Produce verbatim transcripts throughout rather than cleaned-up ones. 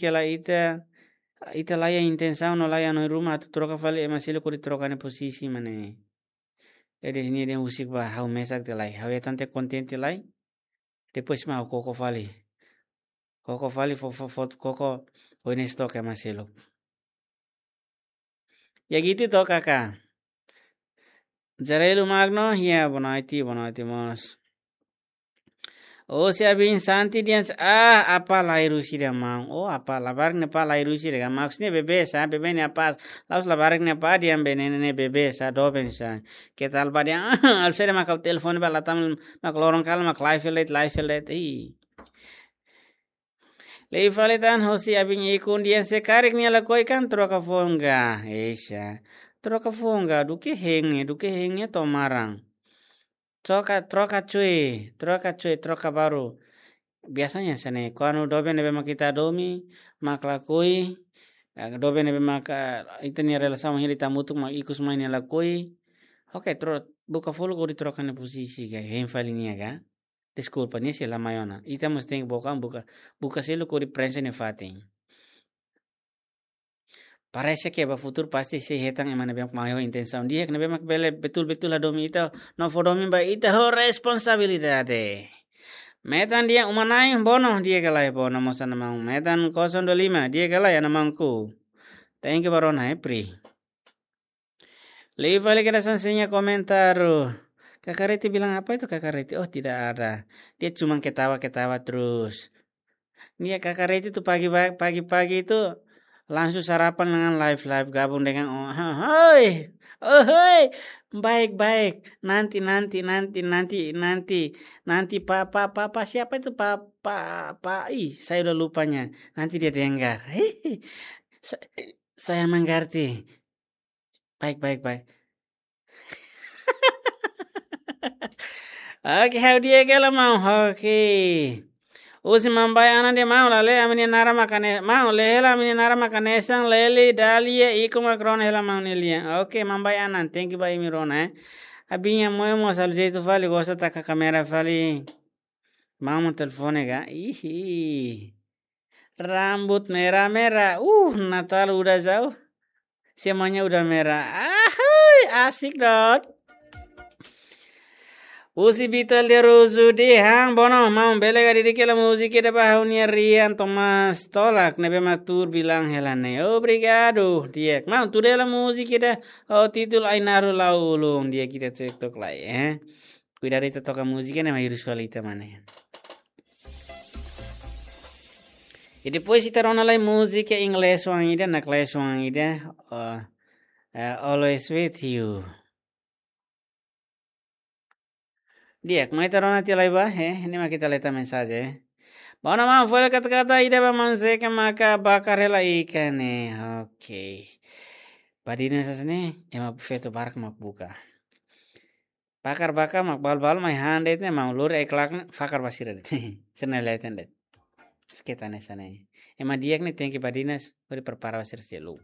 ke la ita, ita laiha intensaun no laiha hanoin ruma atu troka fali ema seluk hodi troka nia pozisi mak ne'e. Jadi nia dehan husik ba ha'u mesak tiha lai. Ha'u hetan tiha kontente lai. Depois mak ha'u koko fali. Koko fali fó, fó, fó, koko oinsá took ema seluk. Ya gitu to kaka. Jarelu Magno, ya boa noite, boa noite mós. Husi Abin Santi dehan, ah, apá la iha Rúsia dehan maun. Oh, apá labarik ne'e apá la iha Rúsia dehan. Maksudnya bebé sá, bebé ne'e apá. La'ós labarik ne'e apá dehan bene ne'e bebé sá, doben sá. Ke tal ba dehan, ah, al sede maka telefone ba latam mak loron kala mak live let, live let. Ih. Lei fali tan husi Abin Ikun dehan se karik nia lakohi kan troka foun ga. Eixa. Troka foun ga, duké hein, duké hein to'o maran. Troka, troka cuy, troka cuy, troka baru. Biasanya hanesan ne'e, kuandu doben ne'ebé mak ita hadomi, mak lakohi, eh, doben ne'ebé mak, eh, ita-nia relasaun hili hamutuk mak ikus mai nia lakohi. Oke, tro-, buka fali hodi troka nia pozisi ga, hein fali nia ga. Deskulpa, nia sei la mai ona. Ita mós tenke buka, buka, buka seluk hodi prenxe nia fatin. Parese ke ba futuru pasti sei hetan ema ne'ebé mak maior intensaun. Di'ak, ne'ebé mak bele betul-betul hadomi ita, no fó domin ba ita ho responsabilidade. Metan dehan uma-na'in, bono, di'ak ka lae, bono mós ana maun. Metan kosong dua lima, di'ak ka lae, ana maunku. Thank you ba rona, eh, Pri. Lei fali kedas hanesan nia komentáriu. Kaka Reti bilang apa itu, Kaka Reti? Oh, tidak ada. Dia cuma ketawa-ketawa terus. Nia Kaka Reti itu pagi ba-, pagi-pagi itu langsung sarapan dengan live-live gabung dengan, oh, hoi, oh, hoi, baik, baik, nanti, nanti, nanti, nanti, nanti, nanti, Pak, Pak, Pak, Pak, siapa itu, Pak, Pak, Pak, ih, saya udah lupanya, nanti dia dengar, hehe, sa-, saya mengerti. Baik, baik, baik. Oke, ha'u di'ak hela maun. Oke. Husi Mambai Anan dehan maun, lalehan ami-nia naran mak hanesan, maun, lalehan ami-nia naran mak hanesan Leli, Dalia, Iko mak rona hela maun nia lian. Oke, Mambai Anan, thank you ba imi rona, eh. Abin Moyo mós halo jeitu fali, gosta taka kámera fali. Maun telefone ga? Ihi. Rambut merah-merah. Uh, Natal udah jauh. Semuanya udah merah. Ahai, asik dot. Husi Vital de Rosu dehan, bono, maun bele ka dedika hela múzika ida ba ha'u-nia Rian Thomas Tolak, ne'ebé mak tuur bilang hela ne'e. Obrigadu, di'ak. Maun, tuur hela múzika ida, ho títulu Ainaro Laulung, di'ak ita cekcok lai, eh. Kuidadu ita toka múzika ne'e mak hirus fali ita mak ne'e. I depois ita rona lai múzika inglés oan ida, naklees oan ida, eh, eh, Always With You. Di'ak, mai ita rona tiha lai ba, eh, ne'e mak ita leta mensajen, eh. Bono maun, fó hela kata-kata ida ba maun Zeka maka bakar hela ikan ne'e. Oke. Badinas hanesan ne'e, ema feto barak mak buka. Bakar-bakar mak balu-balu mai han de'it ne'e, maun lori ai-klak ne'e, fakar ba sira de'it. Sira-ne'e leten de'it. Keta hanesan ne'e. Ema di'ak ne'e tenke badinas, hodi prepara ba sira seluk.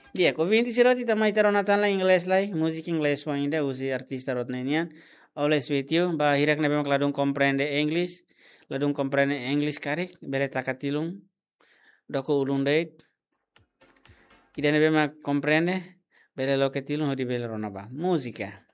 Di'ak, ouvinte sira hotu, ita mai ita rona tan lai inglés lai, múzika inglés oan ida husi artista rot ne'e nian. Always With You, ba hirak ne'ebé mak ladún komprende English, ladún komprende English karik, bele taka tilun, doko ulun de'it. Ida ne'ebé mak komprende, bele loke tilun hodi bele rona ba. Múzika.